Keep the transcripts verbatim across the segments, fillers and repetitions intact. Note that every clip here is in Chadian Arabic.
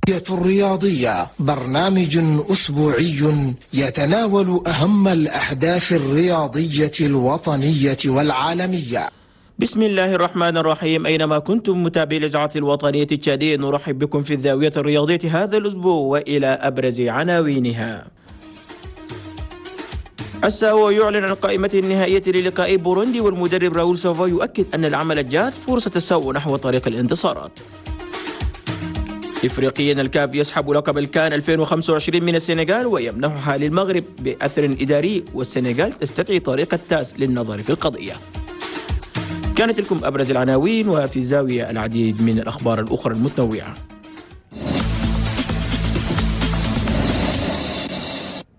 الرياضية برنامج أسبوعي يتناول أهم الأحداث الرياضية الوطنية والعالمية. بسم الله الرحمن الرحيم. أينما كنتم متابعي الإذاعة الوطنية التشادية، نرحب بكم في الزاوية الرياضية هذا الأسبوع وإلى أبرز عناوينها. الساو يعلن عن قائمته النهائية للقاء بوروندي، والمدرب راؤول سافوا يؤكد أن العمل الجاد فرصة الساو نحو طريق الانتصارات. إفريقيا، الكاف يسحب لقب الكان ألفين وخمسة وعشرين من السنغال ويمنحها للمغرب بأثر إداري، والسنغال تستدعي طريق التاس للنظر في القضية. كانت لكم أبرز العناوين، وفي زاوية العديد من الأخبار الأخرى المتنوعة.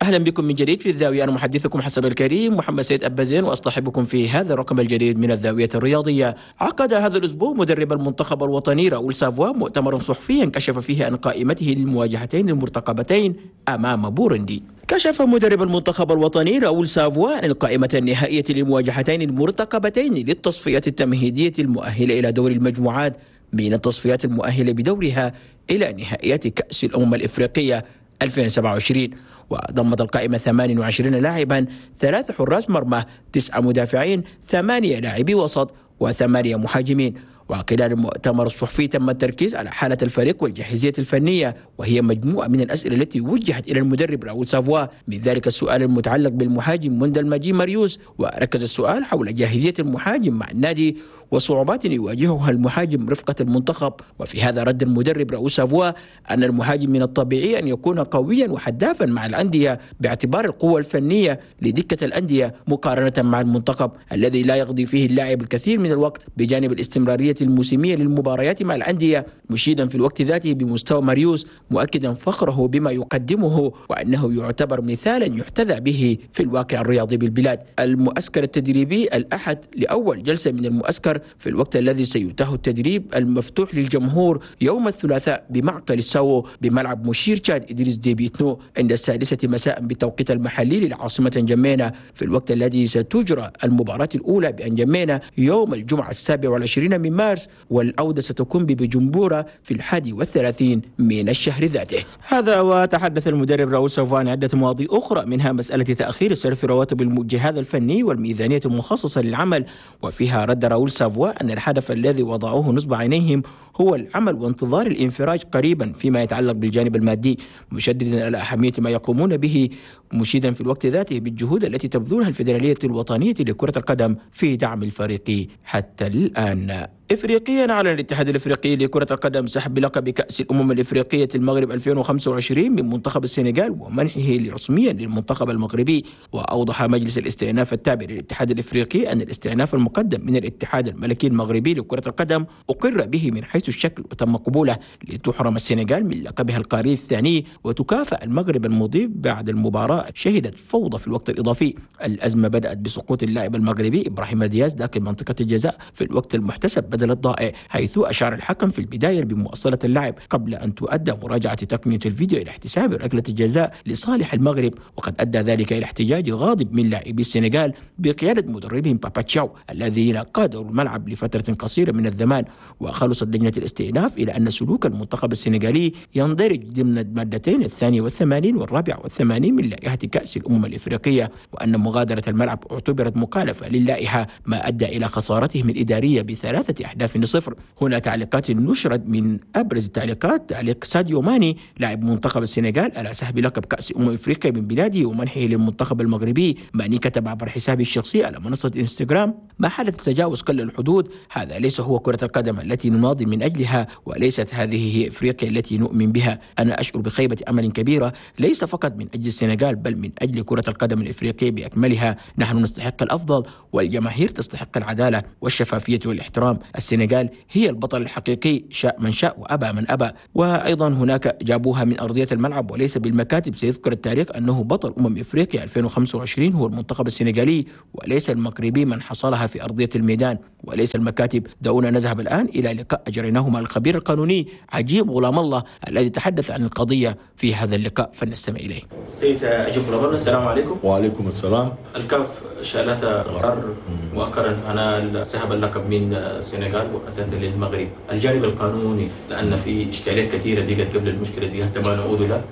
أهلا بكم من جديد في الزاوية، أنا محدثكم حسب الكريم محمد سيد أبازين، وأصطحبكم في هذا الرقم الجديد من الزاوية الرياضية. عقد هذا الأسبوع مدرب المنتخب الوطني راؤول سافوا مؤتمرا صحفيا كشف فيه عن قائمته للمواجهتين المرتقبتين أمام بوروندي. كشف مدرب المنتخب الوطني راؤول سافوا عن القائمة النهائية للمواجهتين المرتقبتين للتصفيات التمهيدية المؤهلة إلى دور المجموعات من التصفيات المؤهلة بدورها إلى نهائيات كأس الأمم الإفريقية ألفين وسبعة وعشرين. وضمت القائمة ثمانية وعشرين لاعبا، ثلاث حراس مرمى، تسعة مدافعين، ثمانية لاعبي وسط، وثمانية مهاجمين. وخلال المؤتمر الصحفي تم التركيز على حالة الفريق والجاهزية الفنية، وهي مجموعة من الأسئلة التي وجهت إلى المدرب راؤول سافوا، من ذلك السؤال المتعلق بالمهاجم موندل ماجي ماريوس، وركز السؤال حول جاهزية المهاجم مع النادي وصعوبات يواجهها المهاجم رفقة المنتخب. وفي هذا رد المدرب راؤول سافوا أن المهاجم من الطبيعي أن يكون قويا وحدافا مع الأندية باعتبار القوة الفنية لدكة الأندية مقارنة مع المنتخب الذي لا يقضي فيه اللاعب الكثير من الوقت، بجانب الاستمرارية الموسمية للمباريات مع الأندية، مشيدا في الوقت ذاته بمستوى ماريوس، مؤكدا فخره بما يقدمه وأنه يعتبر مثالا يحتذى به في الواقع الرياضي بالبلاد. المؤسكر التدريبي الأحد لأول جلسة من المؤسكر، في الوقت الذي سيتاح التدريب المفتوح للجمهور يوم الثلاثاء بمعقل الساو بملعب مشير تشاد إدريس ديبيتنو عند السادسة مساء بالتوقيت المحلي للعاصمة أنجمينا، في الوقت الذي ستجرى المباراة الأولى بأنجمينا يوم الجمعة السابع والعشرين من مارس، والعودة ستكون ببجنبورة في الحادي والثلاثين من الشهر ذاته. هذا وتحدث المدرب راؤول سافوا عن عدة مواضيع أخرى، منها مسألة تأخير صرف رواتب الجهاز الفني والميزانية المخصصة للعمل، وفيها رد راؤول سافوا أن الهدف الذي وضعوه نصب عينيهم هو العمل وانتظار الانفراج قريبا فيما يتعلق بالجانب المادي، مشددا على أهمية ما يقومون به، مشيدا في الوقت ذاته بالجهود التي تبذلها الفيدرالية الوطنية لكرة القدم في دعم الفريق حتى الآن. إفريقيا، أعلن الاتحاد الإفريقي لكرة القدم سحب لقب كأس الأمم الإفريقية المغرب ألفين وخمسة وعشرين من منتخب السنغال ومنحه رسميا للمنتخب المغربي. وأوضح مجلس الاستئناف التابع للاتحاد الإفريقي أن الاستئناف المقدم من الاتحاد الملكي المغربي لكرة القدم أقر به من حيث الشكل وتم قبوله، لتحرم السنغال من لقبها القاري الثاني وتكافأ المغرب المضيف بعد المباراة شهدت فوضى في الوقت الإضافي. الأزمة بدأت بسقوط اللاعب المغربي إبراهيم دياز داخل منطقة الجزاء في الوقت المحتسب بدل الضائع، حيث أشار الحكم في البداية بمواصلة اللعب قبل أن تؤدى مراجعة تقنية الفيديو إلى احتساب ركلة الجزاء لصالح المغرب، وقد أدى ذلك إلى احتجاج غاضب من لاعبي السنغال بقيادة مدربهم باباتشاو الذين قادروا الملعب لفترة قصيرة من الزمان. وخلصت لجنة الاستئناف إلى أن سلوك المنتخب السنغالي يندرج ضمن المادتين الثانية والثمانين والرابعة والثمانين من لائحة كأس الأمم الإفريقية، وأن مغادرة الملعب اعتبرت مخالفة للائحة، ما أدى إلى خسارتهم الإدارية بثلاثة أهداف لصفر. هنا تعليقات نشرت، من أبرز التعليقات تعليق ساديو ماني لاعب منتخب السنغال على سحب لقب كأس أمم إفريقيا من بلاده ومنحه للمنتخب المغربي. ماني كتب عبر حسابه الشخصي على منصة إنستغرام: ما حدث تجاوز كل الحدود، هذا ليس هو كرة القدم التي نناضل من أجلها، وليست هذه هي إفريقيا التي نؤمن بها. أنا أشعر بخيبة أمل كبيرة، ليس فقط من أجل السنغال بل من أجل كرة القدم الإفريقية بأكملها. نحن نستحق الأفضل والجماهير تستحق العدالة والشفافية والاحترام. السنغال هي البطل الحقيقي، شاء من شاء وأبى من أبى. وأيضا هناك جابوها من أرضية الملعب وليس بالمكاتب، سيذكر التاريخ أنه بطل أمم إفريقيا ألفين وخمسة وعشرين هو المنتخب السنغالي وليس المغربي من حصلها في أرضية الميدان وليس المكاتب. دعونا نذهب الآن إلى لقاء أجريناه مع الخبير القانوني عجيب غلام الله الذي تحدث عن القضية في هذا اللقاء، فلنستمع إليه. سيد عجيب غلام الله، السلام عليكم. وعليكم السلام. الكاف شالت قرار مؤخرا أنا سحب اللقب من السنغال للسنغال واتت للمغرب، الجانب القانوني لان في اشكاليات كثيرة بقت قبل المشكلة دي حتى ما نعود لها،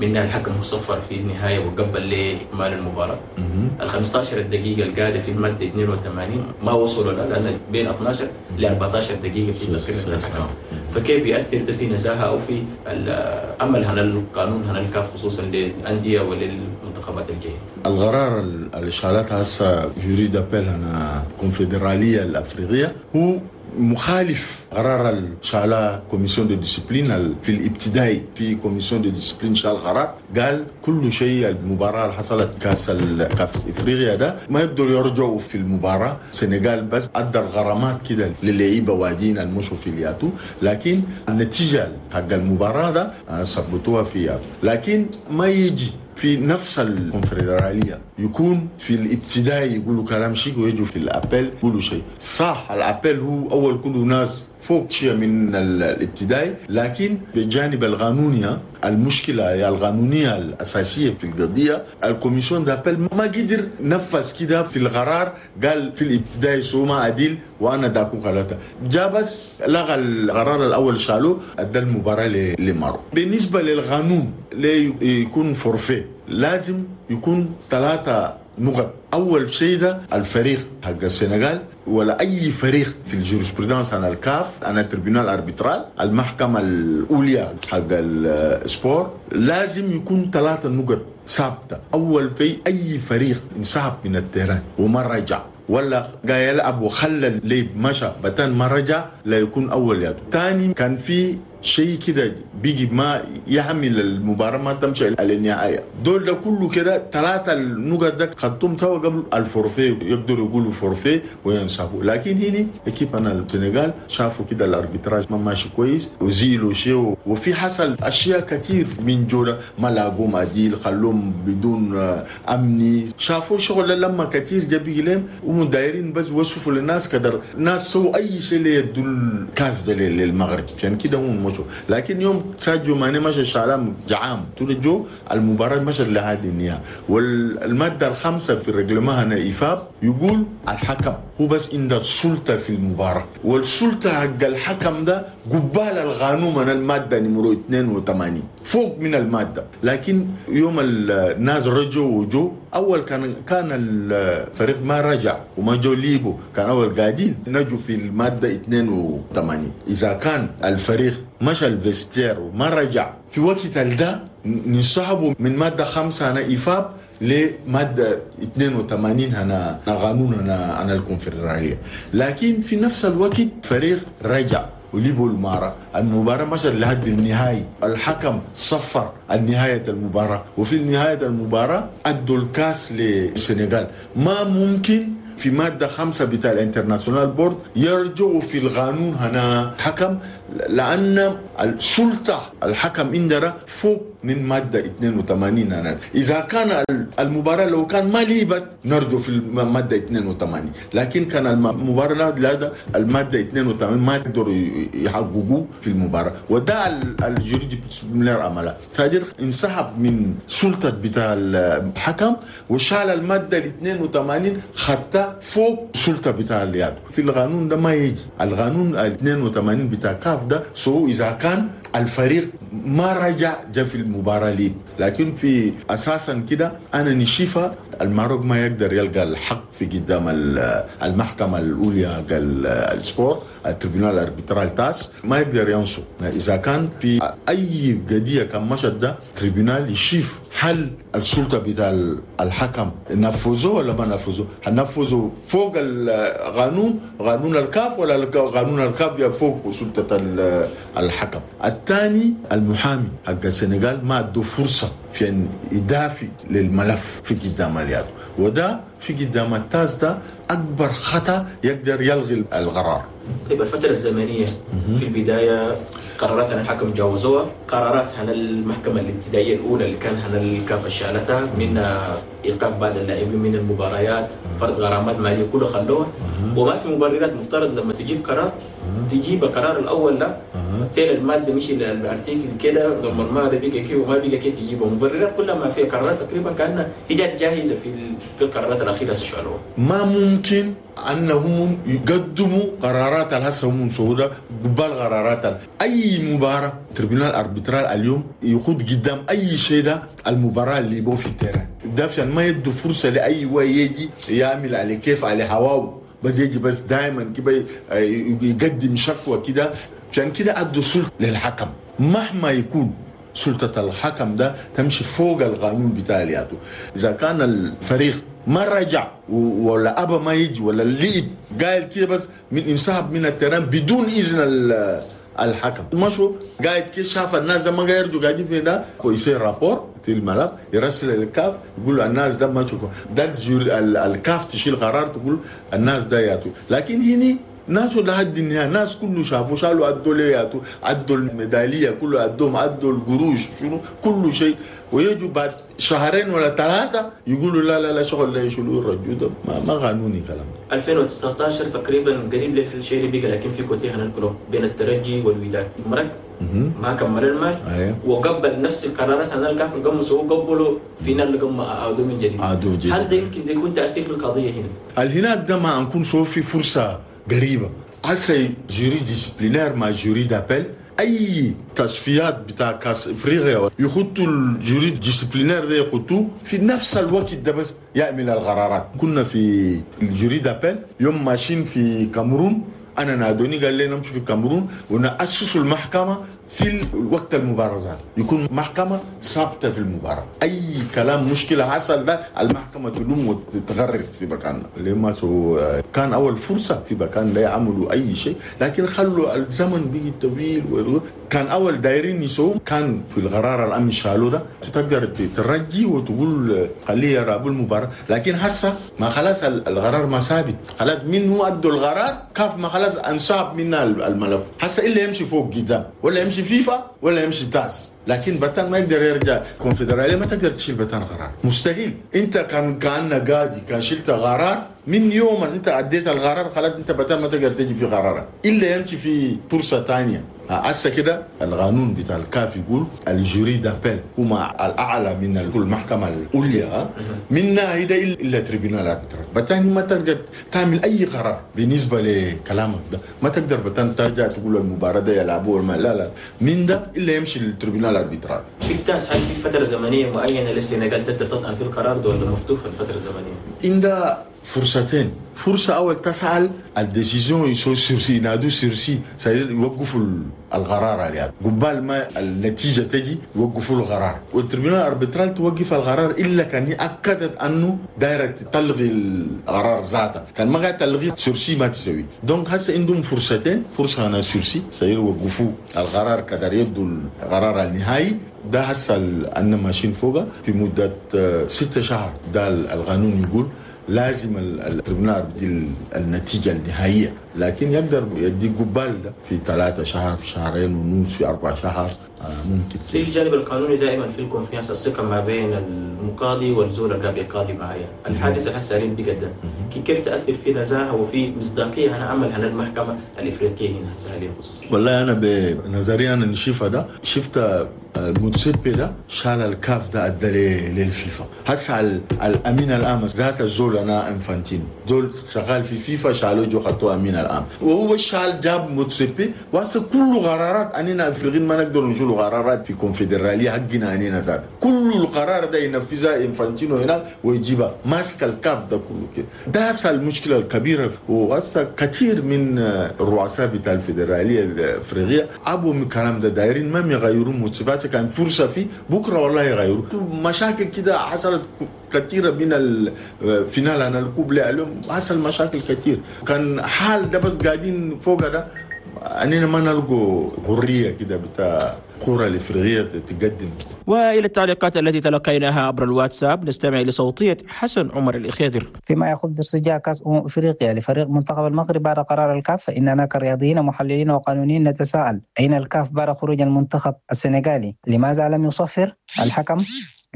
منها الحكم مصفر في النهاية وقبل لاكمال المباراة. ال خمستاشر دقيقة القاعدة في المادة اثنين وثمانين ما وصلوا لها لان بين اثناشر ل أربعتاشر دقيقة في تقريبا الحكم. فكيف ياثر ده في نزاهة او في العمل هنا القانون هنا الكاف خصوصا للاندية وللمنتخبات الجاية؟ القرار اللي شالتها هسه jury d'appel هنا الكونفدراليه الافريقية هو مخالف قرار شالا commission de discipline في الابتدائي. في commission de discipline شال قرار قال كل شيء المباراة اللي حصلت كاس كاس افريقيا ده ما يقدروا يرجعوا في المباراة. السنغال بس ادى الغرامات كده للعيبة وادين المشوا في الياتو، لكن النتيجة حق المباراة ده ثبتوها في ياتو. لكن ما يجي في نفس الكونفدراليه يكون في الابتدائي يقولوا كلام شيء ويجوا في ال appel يقولوا شيء. صح ال appel هو اول كله ناس فوق شيء من الابتدائي، لكن بجانب القانونية المشكلة القانونية الاساسية في القضية ال commission d'appel ما قدر نفذ كده في القرار. قال في الابتدائي سو ما عديل وانا داكو خلاته، جا بس لغى القرار الاول شالوه ادى المباراة لمارو. بالنسبة للقانون ليكون forfait لازم يكون ثلاثة نقط. اول شيء ده الفريق حق السنغال ولا اي فريق في ال jurisprudence عن الكاف عن ال tribunal arbitral المحكمة الاولى حق ال sport لازم يكون ثلاثة نقط ثابتة. اول في اي فريق انسحب من ال terrain وما رجع ولا جاي يلعب وخلى الليب مشى بتان ما رجع لا يكون اول يد. ثاني كان في شيء كده بيجي ما يحمل المباراة ما تمشي على النهاية. دول ده كله كده ثلاثة النقط ده خدتهم سوا قبل ال forfait يقدروا يقولوا forfait وينسحبوا. لكن هنا équipe انا السنغال شافوا كده ال arbitrage ما ماشي كويس وزيلوا شيء، وفي حصل اشياء كتير من جوده ما لاقوا عديل خلوهم بدون امني. شافوا شغل لما كتير جاب لهم ومدايرين بس وصفوا للناس كدر ناس سووا اي شيء ليدوا الكاس ده للمغرب عشان كده هم مشوا. لكن يوم ساديو ماني مشى شعلام جعام طول جو المباراة مشت لهذه النهاية. والمادة الخامسة في ال règlement هنا إيفاب يقول الحكم هو بس عنده السلطة في المباراة، والسلطة حق الحكم ده قبال القانون من المادة نمرو اثنين وثمانين فوق من المادة. لكن يوم الناس رجعوا وجو أول كان كان الفريق ما رجع وما جو ليبو كان أول قاعدين نجوا في المادة اثنين وثمانين. إذا كان الفريق مشى ال vestiaire وما رجع في وقت ده نسحبوا من مادة خمسة هنا إيفاب لمادة اثنين وثمانين هنا قانون هنا عن الكونفدرالية. لكن في نفس الوقت فريق رجع وليبوا المباراة، المباراة مشت لحد النهائي، الحكم صفر النهاية المباراة، وفي نهاية المباراة أدوا الكاس للسنغال. ما ممكن في مادة خمسة بتاع ال International Board يرجعوا في القانون هنا حكم، لأن السلطة الحكم عندنا فوق من مادة اثنين وثمانين هنا. إذا كان المباراة لو كان ما ليبت نرجو في المادة اثنين وثمانين، لكن كان المباراة لا المادة اثنين وثمانين ما يقدروا يحققوه في المباراة. وده ال jury disciplinaire عملها فادر انسحب من سلطة بتاع الحكم وشال المادة اثنين وثمانين خدتها فوق سلطة بتاع اليد. في القانون ده ما يجي القانون اثنين وثمانين بتاع كاف ده سو إذا كان الفريق ما رجع جا في المباراة ليه. لكن في أساسا كده أنا نشيفة الماروك ما يقدر يلقى الحق في قدام المحكمة الأولى ال sport ال tribunal arbitral TAS ما يقدر ينصب. إذا كان في أي قضية كان مشت ده tribunal يشيف هل السلطة بتاع الحكم نفذوه ولا ما نفذوه؟ هل نفذوا فوق القانون قانون الكاف ولا قانون الكاف فوق سلطة الحكم؟ الثاني المحامي حق السنغال ما ادوا فرصة في أن يدافع للملف في قدام اليد، وده في قدام ال TAS ده أكبر خطأ يقدر يلغي القرار. طيب الفترة الزمنية في البداية قرارات عن الحكم جاوزوها، قرارات عن المحكمة الابتدائية الأولى اللي كان عن الكاف شالتها من إيقاف بعض اللاعبين من المباريات، فرض غرامات مالية كله خلوها، وما في مبررات. مفترض لما تجيب قرار تجيب القرار الاول ده تيل المادة مشي ال article كده لما المادة بقى كده وما بقى كده تجيبه مبررات كلها ما فيها قرارات تقريبا كانها هي جات جاهزة في في القرارات الاخيرة شالوها. ما ممكن انهم يقدموا قرارات الهسه هم سهولة قبال قرارات اي مباراة. tribunal arbitral اليوم يخوض قدام اي شيء ده المباراة اللي يبغوا في ال terrain ده عشان ما يدوا فرصة لاي واحد يجي يعمل على كيف على هواه، بس يجي بس دائما كده يقدم شكوى كده. عشان كده ادوا سلطة للحكم مهما يكون سلطة الحكم ده تمشي فوق القانون بتاع الياتو. اذا كان الفريق ما رجع ولا ابا ما يجي ولا اللعب قال كده بس من انسحب من ال terrain بدون اذن الحكم، مشوا قاعد كده شاف الناس ما قاعد يرجعوا قاعدين في ده ويصير rapport في الملف يرسل للكاف يقول الناس ده ما تشوفوا ده الكاف تشيل قرار تقول الناس ده ياتو. لكن هني ناس لحد النهاية ناس كله شافوا شالوا ادوا لياتو ادوا الميداليه كله ادوهم ادوا القروش شنو كل شيء، ويجوا بعد شهرين ولا ثلاثة يقولوا لا لا لا شغل لا يشيلوا الرجل ده ما, ما قانوني كلام. ألفين وتسعة عشر تقريبا قريب للشيء اللي بقى، لكن في كوتيه هنذكره بين الترجي والوداد مرق ما كمل الماتش وقبل نفس القرارات هذا الكاف القمص وقبلوا فينا اللي قم عادوا من جديد. هل ده يمكن يكون تاثير في القضية هنا؟ الهناك ده ما نكون شوف في فرصة قريبه هسه jury disciplinaire مع jury d'appel اي تصفيات بتاع كاس افريقيا يخطوا ال jury disciplinaire ده يخطوه في نفس الوقت ده بس يعمل القرارات. كنا في ال jury d'appel يوم ماشيين في كاميرون، انا نادوني قال لي نمشي في الكاميرون ونأسس المحكمة في وقت المبارزات، يكون محكمة ثابتة في المباراة، اي كلام مشكلة حصل ده المحكمة تلوم وتتغرر في مكاننا. لما كان اول فرصة في مكان لا يعملوا اي شيء، لكن خلوا الزمن بيجي طويل. كان اول دايرين يسووا كان في القرار الامن شالوا ده تقدر ترجي وتقول خليه يلعبوا المباراة، لكن هسه ما خلاص القرار ما ثابت، خلاص منه ادوا القرار كاف ما خلاص انساب منا الملف، هسه الا يمشي فوق قدام ولا يمشي فيفا ولا يمشي تاس، لكن بتان ما يقدر يرجع كونفدراليه ما تقدر تشيل بتان قرار مستحيل. انت كان كان قاضي كان شلت قرار من يوم انت عديت القرار خلاص انت بتان ما تقدر تجي في قرارك الا يمشي في فرصة ثانية. هسه كده القانون بتاع الكاف يقول ال jury d'appel هما الاعلى من المحكمة العليا منا هيدا الا tribunal arbitral. بتان ما تقدر تعمل اي قرار بالنسبة لكلامك ده، ما تقدر بتان ترجع تقول المباراة ده يلعبوها ما لا لا من ده الا يمشي لل tribunal arbitral. في التاس هل في فترة زمنية معينة للسنغال تقدر تطعن في القرار ده ولا مفتوح الفترة الزمنية؟ عندها فرصتين، فرصة أول تسأل ال décision يسو sursis ينادوا sursis يوقفوا القرار عليها قبال ما النتيجة تجي يوقفوا القرار، وال tribunal arbitral توقف القرار إلا كان أكدت أنه دايرة تلغي القرار ذاته، كان ما قاعد تلغي sursis ما تسوي. donc هسه عندهم فرصتين، فرصة أنا sursis سيوقفوا القرار كدر يبدو القرار النهائي ده هسه أن ماشيين فوقه في مدة ستة شهر. ده القانون يقول لازم ال tribunal بدي النتيجة النهائية، لكن يقدر يدي قبال ده في ثلاثة شهر في شهرين ونص في أربع شهر ممكن. في الجانب القانوني دائما في ال confiance الثقة ما بين المقاضي والزول اللي قاعد يقاضي معايا. الحادثة هسه اللي بقدم كيف تأثر في نزاهة وفي مصداقية أنا عمل هنا المحكمة الإفريقية هنا هسه خصوصا؟ والله أنا بنظري أنا نشوفها ده شفت الموتسيبي ده شال الكاف ده ادى للفيفا. هسه الامين العام ذات الزول انا انفانتينو دول شغال في فيفا شالوا جو خطوة امين العام وهو شال جاب موتسيبي. وهسه كل قرارات اننا افريقيين ما نقدر نشيل قرارات في كونفدراليه حقنا اننا ذات كل القرار ده ينفذها انفانتينو هنا ويجيبها ماسك الكاف ده كله كده. ده هسه المشكلة الكبيرة. وهسه كثير من الرؤساء بتاع الفيدرالية الافريقية ابوا من الكلام ده دايرين ما يغيروا موتسيبي كان فرصة فيه بكره والله يغيروا. مشاكل كده حصلت كثيرة من ال finale انا ال coupe اليوم حصل مشاكل كثير. كان حال ده بس قاعدين فوق ده اننا ما نلقوا حرية كده بتاع الكره الافريقية تقدم. والى التعليقات التي تلقيناها عبر الواتساب نستمع لصوتيه حسن عمر الإخيدر. فيما يخص ارتجاع كاس امم افريقيا لفريق منتخب المغرب بعد قرار الكاف، فاننا كرياضيين ومحللين وقانونيين نتساءل اين الكاف بعد خروج المنتخب السنغالي؟ لماذا لم يصفر الحكم؟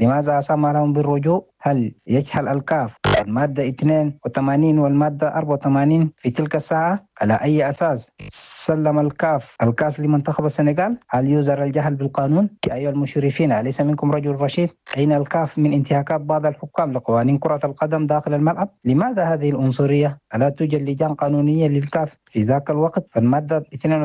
لماذا سمح لهم بالرجوع؟ هل يجهل الكاف المادة اثنين وثمانين والمادة أربعة وثمانين في تلك الساعة؟ على أي أساس سلم الكاف الكاس لمنتخب السنغال؟ هل يوزر الجهل بالقانون؟ يا أيها المشرفين، أليس منكم رجل رشيد؟ أين الكاف من انتهاكات بعض الحكام لقوانين كرة القدم داخل الملعب؟ لماذا هذه العنصرية؟ ألا توجد لجان قانونية للكاف في ذاك الوقت؟ فالمادة اثنين